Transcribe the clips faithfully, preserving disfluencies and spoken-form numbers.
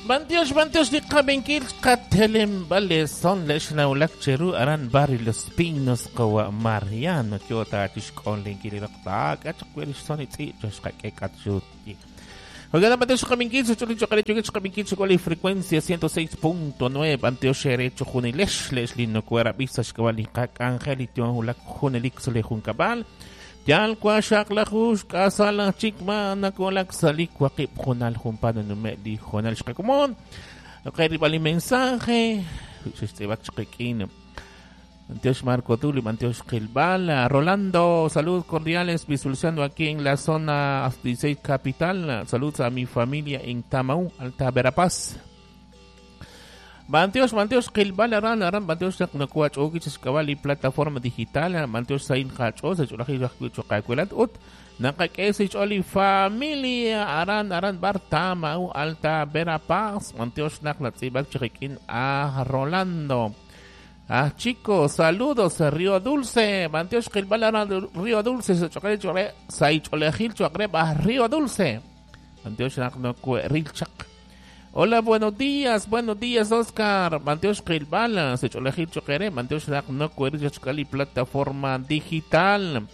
Bantiox, bantiox li qabinkil qatelem bale son lex naulak cheru aran barrio Los Pinos qawa Mariano kyota tishkon linkili raqta kachaq son itzi chashqa k'atxut. Oigan, bantiox qabinkil chuli chokale chokale qabinkil chokale frecuencia ciento seis punto nueve bantiox erecho junilex lex lino kuera bisa xkawali qak angelito hulak junelik sole junkabal. Yal kwa shaqlajush kasala chikma nakolak salik waqib junal jumpano nume di jonal shqakumon. Okay, bali mensaje. Shestebak chqikin. Antioch Marco Tulio, Antioch Gilbal, Rolando, saludos cordiales, visualizando aquí en la zona dieciséis capital. Saludos a mi familia en Tamau, Alta Verapaz. Bantiox, Bantiox, Gilbal, Aran, Aran, Bantiox, Nakuach, Okichas, Kabali, plataforma digital, Bantiox, Sain, Hacho, Sechulaji, Chukakuelat, Ut, Nakakesich, Oli, familia, Aran, Aran, Bar, Tamau, Alta Verapaz, Bantiox, Naklatzibac, Chiquiquín, a Rolando. Ah, chicos, saludos a Río Dulce, Bantiox, Gilbal, Aran, Río Dulce, Sechocale, Chore, Saicholejil, Chuacreb, a Río Dulce, Bantiox, Naknocuerilchak. Hola, buenos días, buenos días, Oscar. Manteos Gilbala, Secholejil Choquere, Manteos Naknocuerilchakali, plataforma digital.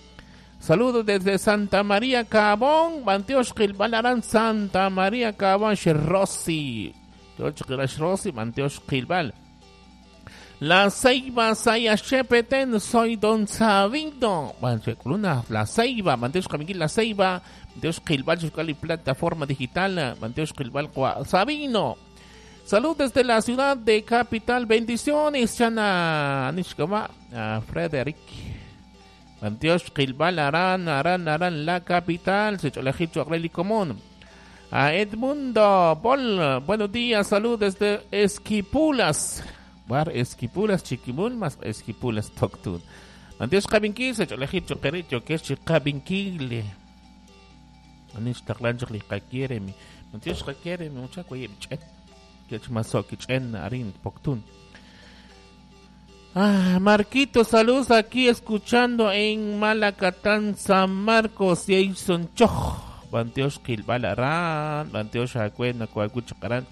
Saludos desde Santa María Cabón, Manteos Gilbalarán, Santa María Cabón, Rossi. Rossi, Manteos Gilbal. La Ceiba, Saya Shepeten, soy Don Sabino. La Ceiba, Manteos Camiguil, La Ceiba, Manteos Gilbal, Chocali, plataforma digital, Manteos Gilbal, Sabino. Salud desde la ciudad de Capital, bendiciones, Chana, Anishkama, Frederick. Manteos Gilbal, Arán, Arán, Arán, la capital, Secholejito, Agreli Común. A Edmundo Bol, buenos días, salud desde Esquipulas. Bar Esquipulas, Chiquimul, más Esquipulas, Toctun. Manteos Cabinquil, Secholejito, Choquerito, que es Chicabinkil. Anishtaqlanchik liqakieremi. Manteos qakieremi, muchaco yebchet. Quechmasokichen, arin, Poctun. Ah, Marquito, saludos aquí escuchando en Malacatán, San Marcos, Jason Choj. Manteos Gilbal Arán, Manteos Acuena, Coacuchacarán.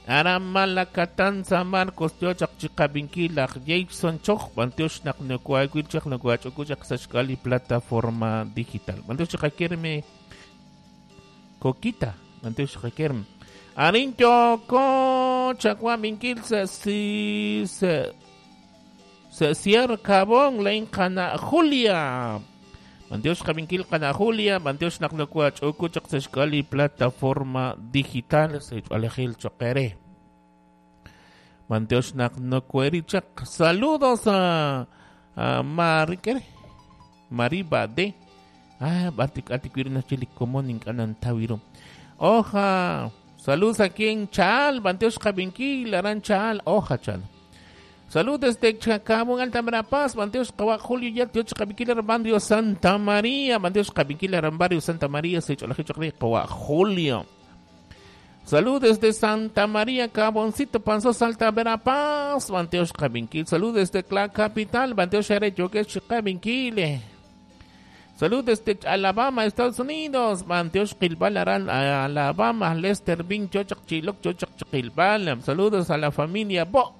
Aram Malacatán, San Marcos, Teochak, Chicabinkilak, Jason Choj, Manteos Naknocuacuchak, Nocuachucuchak, Sashkali, plataforma digital. Manteos Chicaquierme, Coquita, Manteos Chicaquierme. Arincho, Cochacuaminquil, se, si, se, se cierra Cabón, Lencana, Julia. Manteos Caminquil, Cana Julia, Manteos Naknocuachucuchak, Sashkali, plataforma digital, Sechalejil Choquere. Manteos Naknocuerichak. Saludos a, a Mari, ¿qué? Mariba de. Ah, batik atiquirina chili común canantawiro. Oja. Saludos aquí en Chal, Manteos Caminquil, Aran Chal, Oja Chal. Saludos desde Chacabón, Alta Verapaz, Manteos Kawa, Julio Yat, Caminquil, Barrio Santa María, Manteos Caminquil, Barrio Santa María, Secholaje, Julio. Saludos desde Santa María, Caboncito, Panzós, Alta Verapaz, Manteos Caminquil. Saludos desde la capital, Manteos Xarecho, Caminquil. Saludos desde Alabama, Estados Unidos, Manteos Gilbal, Aran, Alabama, Lester Bin, Chochak, Chiloc, Chochak, Gilbal. Saludos a la familia Bo.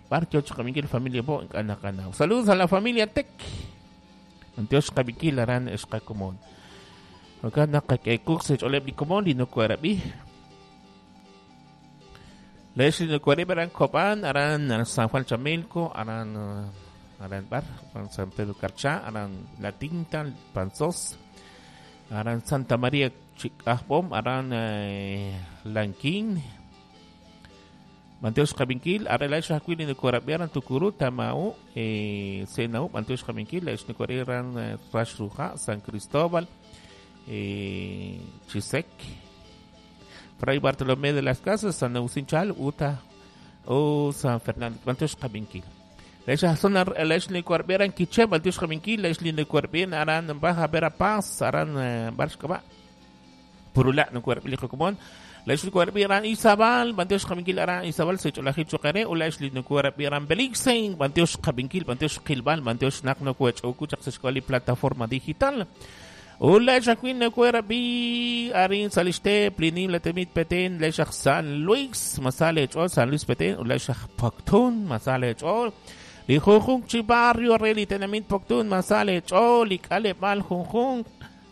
Bar, Chochak, Miguel, familia Bo, Cana, Saludos a la familia Tec. Manteos Caminquil, Aran, Escacomón. Acá, Nakakekuk, Secholeb, Comón, Lino, Cuerabi. Leslie no Cuerabi, Aran Copán, Aran San Juan Chamilco, Aran. Aran Bar, San Pedro Carchá, Aran La Tinta, Panzós, Aran Santa María Chicajbom, Aran eh, Lanquín, Manteos Caminquil, Arela Xacuil, Nicorabi, Aran Tucurú, Tamau, eh, Senau, Manteos Caminquil, Nicorabi, Aran Rashruja, San Cristóbal, eh, Chisec, Fray Bartolomé de las Casas, San Agustín Chal, Uta, o San Fernando, Manteos Caminquil. Lecha zona Leslie Corbiera en Quiché, Manteos Caminquil, Leslie Corbiera, Aran Baja Verapaz, Aran Barshkaba, Purula, no Corbiera, Común, Leslie Corbiera, Izabal, Manteos Caminquil, Aran Izabal, Secholaje Chocaré, o Leslie Corbiera, Belixen, Manteos Caminquil, Manteos Gilbal, Manteos Nakno Cuech, Ocuchak, Sescoli, plataforma digital. Ula xakwin nakuerabi arin saliste plinim latemit Petén le San Luis masale chol San Luis Petén ula xaj Poctún masale chol li junjun chi barrio reli tenamit Poctún masale chol li kale mal junjun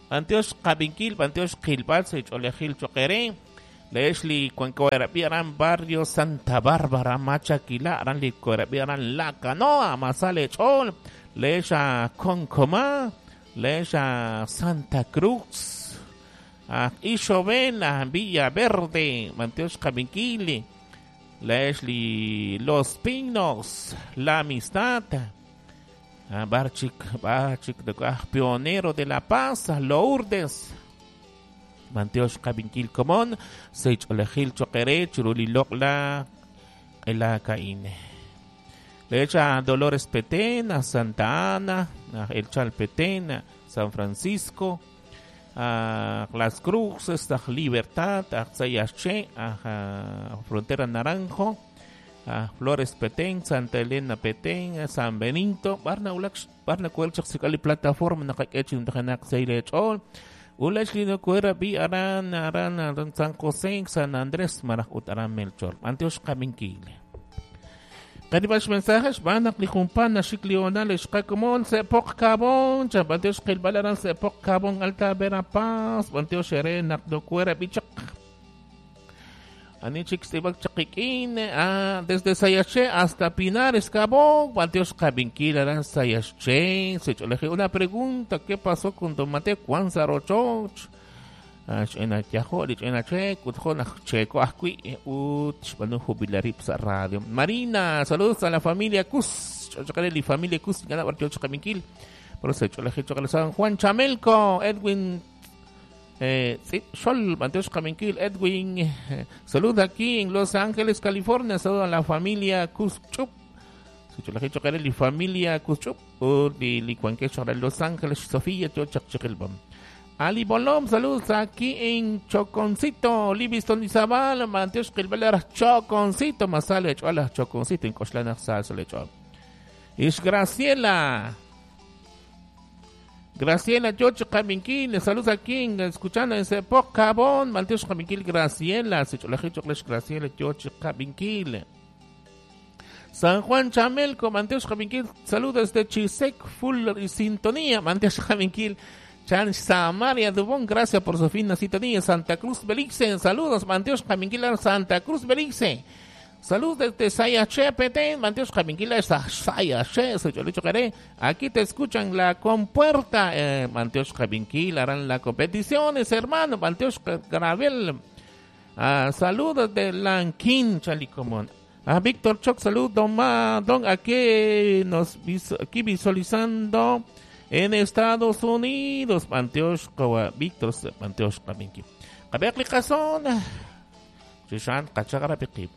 Antioch Kabinkil Antioch Kilbal se cholejil choquere Leslie cuancoerabi aran barrio Santa Bárbara Machaquila aran li coerabi aran La Canoa masale chol lexa Concomá Lexa Santa Cruz, a Ixovena, Villa Verde, Manteos Caminquili, Leslie Los Pinos, La Amistad, a Barchik, Barchik, Pionero de la Paz, Lourdes, Manteos Caminquil Comón, Sech Olejil Choquere, Churuli Locla, El Caine. Lecha Dolores Petén, a Santa Ana, a El Chal Petén, a San Francisco, a Las Cruces, a Libertad, a Sayaché, a Frontera Naranjo, a Flores Petén, Santa Elena Petén, a San Benito, Barna Ulax, Barna Kuelchak, Sikali Plataforma, Nakakechin, Tajanak, Seilech, Ol, Ulax Lino Kuera, Bi Aran, Aran, Aran, San José, San Andrés, Marajut, Aran Melchor, Antioch Kaminquile. Kanibas mensajes van a lijumpan a Xiclional, Xcacomón, Sepoc Cabón, Chapanteos Gilbalaran, Sepoc Cabón, Alta Verapaz, Banteos Xeren, Akdocuera, Bichak. Anichik Stibak Chaquiquín, desde Sayaché hasta Pinares, Cabón, Banteos Cabinquil, Aran Sayaché. Se una pregunta, ¿qué pasó con Don Mateo Cuanzarochoch? Radio Marina, saludos a la familia Cus, familia Cus, San Juan Chamelco, Edwin eh, Sol, Edwin, saludos aquí en Los Ángeles, California, saludos a la familia Cus Chup, familia Cus Chup, Los Ángeles, Sofía, Ali Bolom, saludos aquí en Choconcito, Livingston Izabal, Manteos Gilbelar, Choconcito, Masale, Chola, Choconcito, en Cochlana, Salsa, Chol. Is Graciela, Graciela, Chocho Caminquil, saludos aquí en, escuchando en Sepoc Cabón, Manteos Caminquil, Graciela, Graciela, Chocho Caminquil. San Juan Chamelco, Manteos Caminquil, saludos desde Chisec, Full y Sintonía, Manteos Caminquil. Chan Samaria Dubón, gracias por su fina sintonía. Santa Cruz Belice, saludos, Manteos Caminquila, Santa Cruz Belice. Saludos desde Sayaché, Petén, Manteos Caminquila, Sayaché, soy Cholicho Caré. Aquí te escuchan la compuerta, eh, Manteos Caminquila, harán las competiciones, hermano, Manteos Gravel. Ah, saludos de Lanquín, Chalicomón. A Víctor Choc, saludos, don, Ma, don, aquí nos aquí visualizando. En Estados Unidos, Manteos Víctor Manteos Kaminki. Kabekli Kazón, Shishan Kachagarapiki.